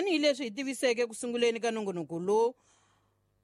Tanihileswi hi tiviseke ku sunguleni ka nongonoko lowu,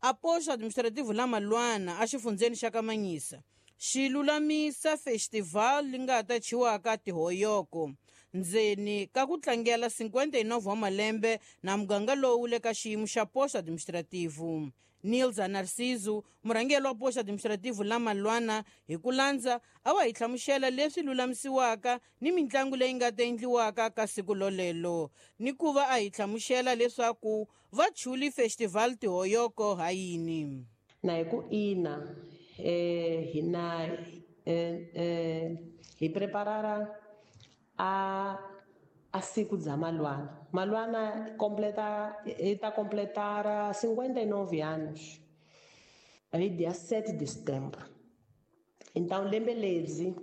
a posto administrativo la Malwana exifundzheni xa Kamanyisa xi lulamisa festival li nga ta thyiwaka Tihoyoko ndzeni ka ku tlangela 59 wa malembe na muganga lowu le ka xiyimo xa posto administrativo. Nilza Narciso, murhangeri wa posto administrativo la Malwana, hi ku landza a wa hi hlamusela leswi lulamisiwaka ni mitlangu leyi nga ta endliwaka ka siku lolelo, ni ku va a hi hlamusela leswaku va chuli festival Tihoyoko ha yini. Na hi ku ina, hina hi preparara a siku bya Malwana. Malwana completa, i ta completara 59 anos hi dia 7 de setembro. Então lembe lebyi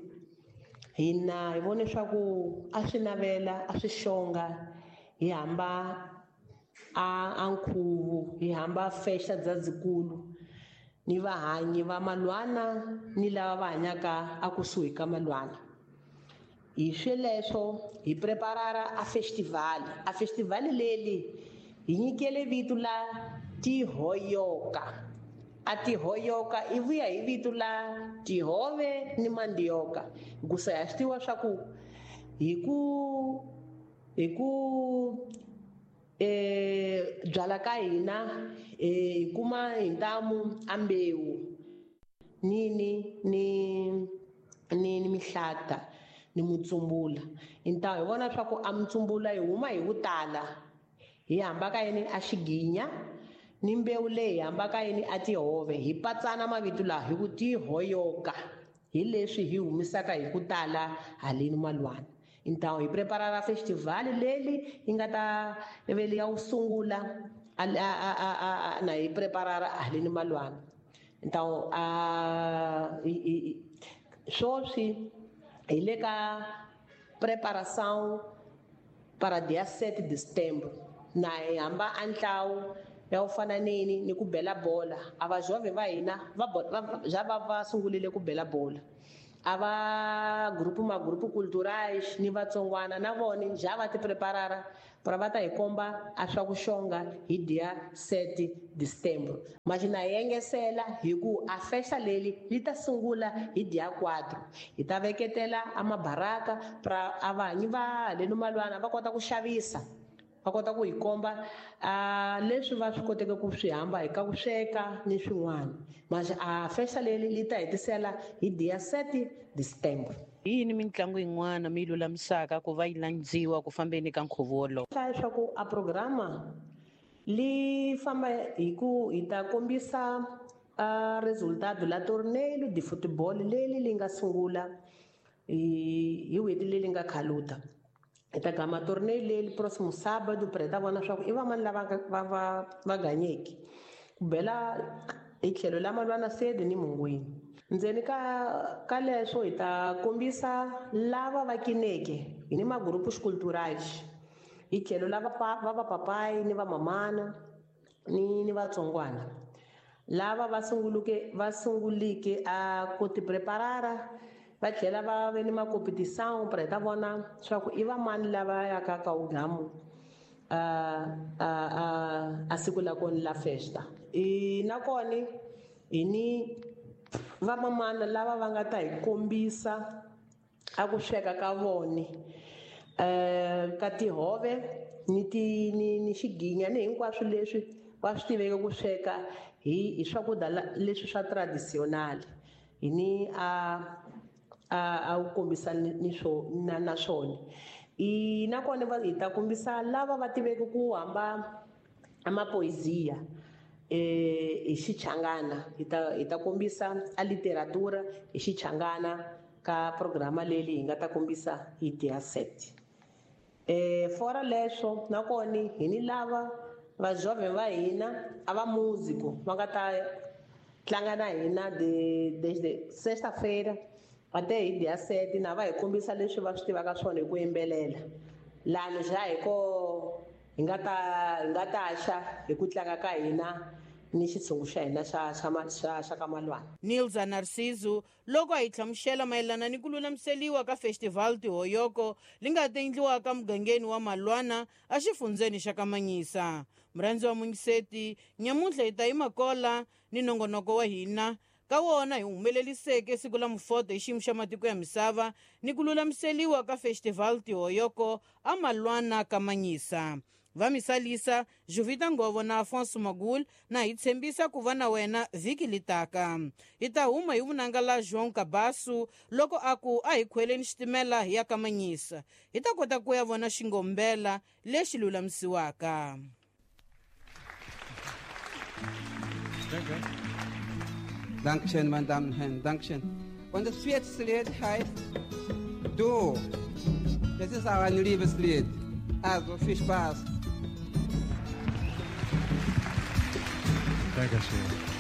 hina hi vone swa ku a swi navela, a swi xonga, hi hamba a nkhuvo, hi hamba festa bya dzikulu ni vahanyi va Malwana ni lava va hanyaka a kusuhi ka Malwana. Hi sweleswo hi preparara a festival. A festival leli hi nyikele vito la Tihoyoka. A Tihoyoka i vuya hi vito la tihove ni mandioka. Hikusa ha swi tiva swa ku hi ku byala ka hina, hi kuma hi ntamu a mbewu ni ni ni ni ni mihlata ni mutsumbula. Hintawo hi vona swa ku a mutsumbula hi huma hi ku tala, hi hamba ka yini a xiginya ni mbewu leyi hi hamba ka yini a tihove, hi patsana mavito lawa hi ku Tihoyoka, hi leswi hi humisaka hi ku tala haleni Malwana. Hintawo hi preparara festival leli yi nga ta veli ya wu sungula na hi preparara haleni Malwana. Hintawo swoswi hi le ka preparação para dia 7 de setembro. Na hi hamba a ntlawu ya ku fana nini ni ku bela bola. A va jovhe va hina va va, ja va va sungulile ku bela bola. A va grupo ma grupo culturais ni vatsongwana na vona ja va ti preparara para va ta hi komba a swa ku xonga hi dia 7 de setembro. Mas na hi engesela hi ku a festa leli li ta sungula hi dia 4. Hi ta veketela a mabaraka pra a vanyi va le Malwana va kota ku xavisa, va kota ku hi komba a leswi va swi koteke ku swi hamba hi ka ku sweka ni swin'wana. Mas a festa leli li ta hetisela hi dia 7 de setembro. Hi yini mitlangu yin'wana mi yi lulamisaka ku va yi landziwa ku fambeni ka nkhuvo wolowo? Hlaya leswaku a programa li famba hi ku hi ta kombisa a resultado la torneio de futebol leli li nga sungula hi n'hweti leyi nga khaluta. Hi ta gama torneio leli próximo sábado pra hi ta vona swa ku i vamani lava va ganyeki. Ku bela hi tlhelo la Malwana sede ni Mungwini. Ndzeni ka leswo hi ta kombisa lava va kineke hi ni magrupos culturais. Hi tlhelo la va vapapayi ni vamamana ni vatsongwana. Lava va sunguluke, va sungulike a ku ti preparara, va tlhela va ve ni makompetição pra hi ta vona swa ku i vamani lava yaka ka ugamu a siku la kona la festa. I nakona hi ni vamamana lava va nga ta hi kombisa a ku sweka ka vona, ka tihove ni ti, ni, ni xiginya ni hinkwaswo leswi va swi tiveke ku sweka hi swakudya leswi swa traditional. Hi ni a wu kombisa ni swo, na, na swona. I nakona va hi ta kombisa lava va tiveke ku hamba a mapoesia, hi Xichangana. Hi ta kombisa a literatura hi Xichangana ka programa leyi hi nga ta kombisa hi dia 7. Fora leswo nakona hi ni lava va jovhe va hina a va músico va nga ta tlanga na hina desde sexta-feira até hi dia 7, na va hi kombisa leswi va swi tivaka swona hi ku yimbelela. Lani ja hi ko hi nga ta, hi nga ta xa hi ku tlanga ka hina Ni xitshungu xa hina xa xa xa xa ka Malwana. Nilza Narciso loko a hi hlamusela mayelana ni ku lulamiseliwa ka Festival Tihoyoko li nga ta endliwaka mugangeni wa Malwana exifundzeni xa Kamanyisa. Murhandzi wa mungiseti, nyamuntlha hi ta yima kola ni nongonoko wa hina ka wona hi humeleliseke siku la mufoto hi xiyimo xa matiko ya misava ni ku lulamiseliwa ka Festival Tihoyoko a Malwana Kamanyisa. Va misalisa Jovita Ngovo na Afonso Magul na hi tshembisa ku va na wena vhiki litaka. Hi ta huma hi vunanga la João Cabasso loko a ku a hi khweleni xitimela hi ya Kamanyisa. Hi ta kota ku ya vona xingombela lexi lulamisiwaka. Dankeschön, meine Damen und Herren, Dankeschön. Und das vierte Lied heißt Du. Das ist auch ein Liebeslied. Also viel Spaß. Dankeschön.